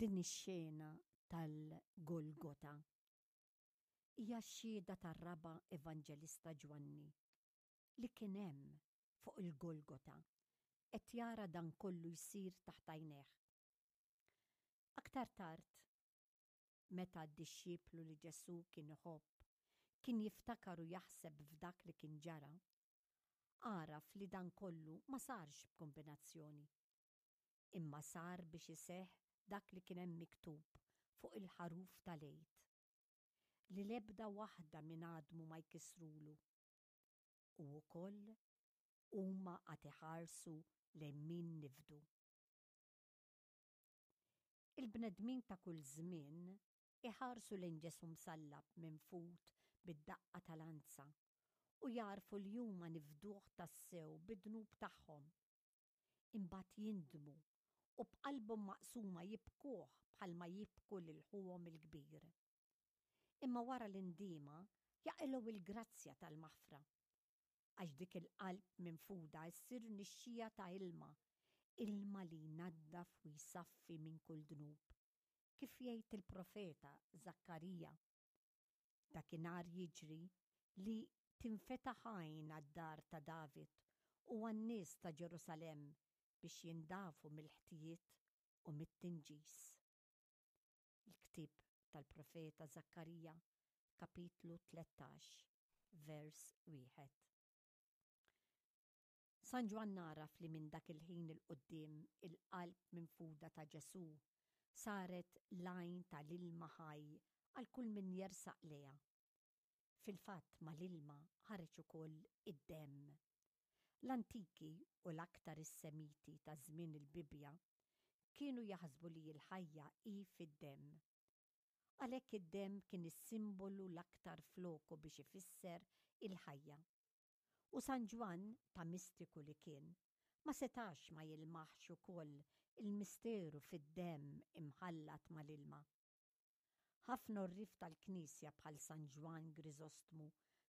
Din ix-xena tal-Golgota hija x-xhieda tar-raba' evanġelista Ġwanni li kien hemm fuq il-Golgota qed jara dan kollu jsir taħt għajnejh. Aktar tard, meta d-dixxiplu li Ġesù kien iħobb kien jiftakar u jaħseb f'dak li kien ġara, għaraf li dan kollu ma sarx b'kumbinazzjoni, imma sar biex iseħħ dak li kien hemm miktub fuq il-ħaruf tal-Għid, li l-ebda waħda minn għadmu ma jkissrulu, u wkoll huma għad iħarsu lejn min nifdu. Il-bnedmin ta' kull żmien iħarsu lejn Ġesù msallab minfud bid-daqqa ta' lanza u jagħrfu li huma nifduh tassew bid-dnub tagħhom. Imbagħad jindmu u b'qalbhom maqsuma jibkuh bħalma jibku lil ħuhom il-kbir. Imma wara l-indiema jaqilgħu l-grazzja tal-maħfra. Għax dik il-qalb minfuda ssir nixxija ta' ilma, ilma li jnaddaf u jsaffi minn kull dnub, kif jgħid il-profeta Żakkarija. Dakinhar jiġri li tinfetaħ għajn għad-dar ta' David u għan-nies ta' Ġerusalemm biex jindafu mill-ħtijiet u mit-tinġis. Il-ktieb tal-profeta Żakkarija, kapitlu 13, vers wieħed. San Ġwann għaraf li minn dak il-ħin 'il quddiem il-qalb minfuda ta' Ġesù saret l-għajn ta' l-ilma ħaj għal kull min jersaq lejha. Fil-fatt mal-ilma ħareġ ukoll id-demm. L-antiki u l-aktar is-Semiti ta' żmien il-Bibbja kienu jaħsbu li l-ħajja hi fid-demm. Għalhekk id-demm kien is-simbolu l-aktar f'loku biex ifisser il-ħajja. U San Ġwann, ta' mistiku li kien, ma setax ma jilmaħx ukoll il-misteru fid-demm imħallat mal-ilma. Ħafna għorrief tal-Knisja bħal San Ġwann Griżostmu,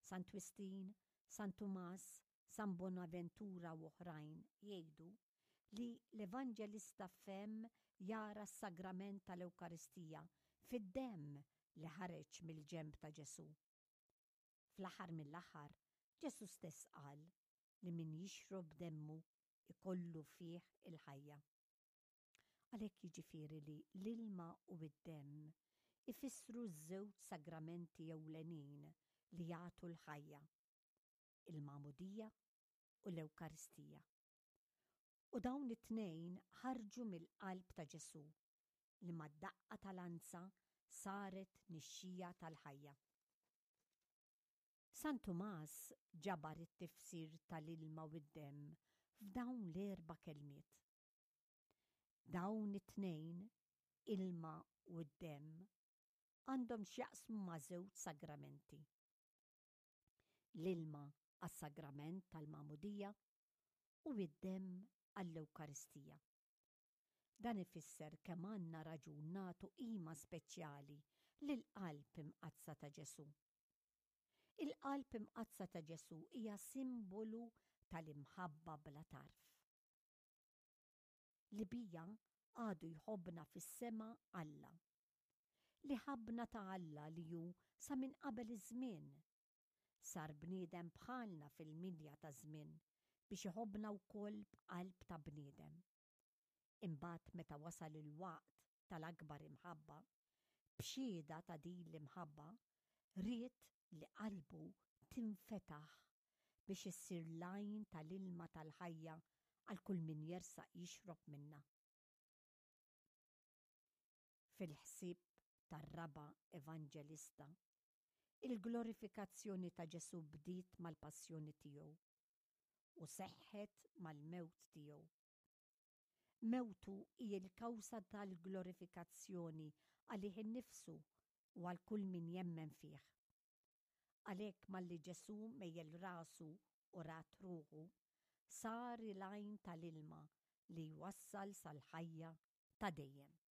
San Twistin, San Tumas, San Bonaventura u oħrajn jgħidu li l-Evanġelista fehem jara s-sagrament tal-Ewkaristija fid-demm li ħareġ mill-ġenb ta' Ġesù. Fl-aħħar mill-aħħar, Ġesù stess qal li min jixrob demmu jkollu fih il-ħajja. Għalhekk jiġifieri li l-ilma u d-demm ifissru ż-żewġ sagramenti ewlenin li jagħtu l-ħajja, il-Magħmudija u l-Ewkaristija. U dawn it-tnejn ħarġu mill-qalb ta' Ġesù li mad-daqqa ta' lanza saret nixxija tal-ħajja. San Tumas ġabar it-tifsir tal-ilma u d-demm f'dawn l-erba' kelmiet. Dawn it-tnejn, ilma u d-demm, għandhom x'jaqsmu ma' żewġ sagramenti. L-ilma għas-sagrament tal-Magħmudija u d-demm għall-Ewkaristija. Dan ifisser kemm għandna raġun nagħtu qima speċjali lill-Qalb Imqaddsa ta' Ġesù. Il-Qalb Imqaddsa ta' Ġesù hija simbolu tal-imħabba bla tarf. Li bija għadu jħobbna fis-sema Alla. Li ħabbna ta' Alla li hu sa minn qabel iż-żmien. Sar bniedem bħalna fil-milja taż-żmien biex iħobbna wkoll b'qalb ta' bniedem. Imbagħad meta wasal il-waqt tal-akbar imħabba, b'xhieda ta' din l-imħabba, ried li qalbu tinfetaħ biex issir l-għajn tal-ilma tal-ħajja għal kull min jersaq jixrob minnha. Fil-ħsieb tar-raba' evanġelista, il-glorifikazzjoni ta' Ġesù bdiet mal-passjoni tiegħu u seħħet mal-mewt tiegħu. Mewtu hi l-kawża tal-glorifikazzjoni għalih innifsu u għal kull min jemmen fih. Għalhekk malli Ġesù mejjel rasu u rat ruħu, sar il-għajn tal-ilma li jwassal sal-ħajja ta' dejjem.